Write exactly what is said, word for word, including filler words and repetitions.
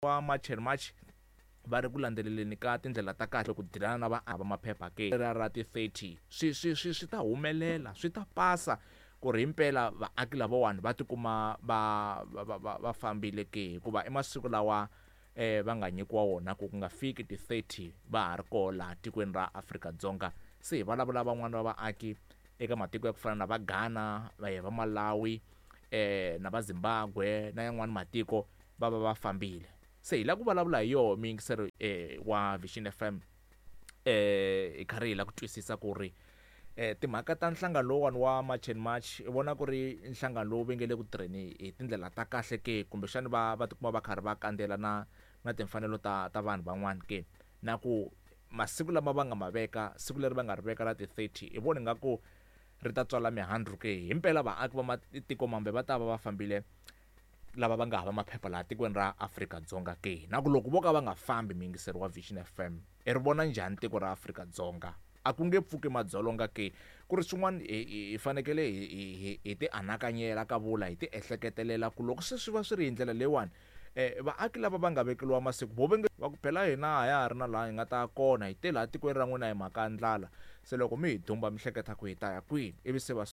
Wa March and March va ri ku landzeleleni ka tindlela ta kahle ku dilana na va maphepha ke ra ra ti thirty swi swi swi swi ta humelela, swi ta pasa ku ri himpela vaaki lavawani va tikuma va va va va fambile ke, hikuva i masiku lawa eh va nga nyikiwa wona ku ku nga fiki ti thirty va ha ri koho laha tikweni ra Afrika-Dzonga. Se hi vulavula van'wani va vaaki eka matiko ya ku fana na va Ghana, va va Malawi, eh na va Zimbabwe na yan'wani matiko va va va fambile. Se hi lava ku vulavula hi yoho muyingiseri eh wa Vision F M, eh hi karhi hi lava ku twisisa ku ri eh timhaka ta nhlangano lowuwani wa March and March, i vona ku ri nhlangano lowu va nge le ku tirheni hi tindlela ta kahle ke, kumbexani va va tikuma va karhi va kandzela na na timfanelo ta ta vanhu van'wani ke, na ku masiku lama va nga ma veka, siku leri va nga ri veka la ti thirty, i vona ingaku ri ta tswala mihandzu ke, himpela vaaki va matiko mambe va ta va va fambile lava va nga hava maphepha laha tikweni ra Afrika-Dzonga ke, na ku loko vo ka va nga fambi, muyingiseri wa Vision F M, i ri vona njhani tiko ra Afrika-Dzonga? A ku nge pfuki madzolonga ke? Ku ri swin'wana hi fanekele hi hi ti anakanyela ka vula hi ti ehleketelela ku loko se swi va swi ri hi ndlela leyiwani, eh vaaki lava va nga vekeliwa masiku vo ve nge va ku phela hina a ya ha ri na laha hi nga ta ya kona, hi te laha tikweni ra n'wina hi mhaka ya ndlala, se loko mi hi dumba mi hleketa ku hi ta ya kwini? Ivi se va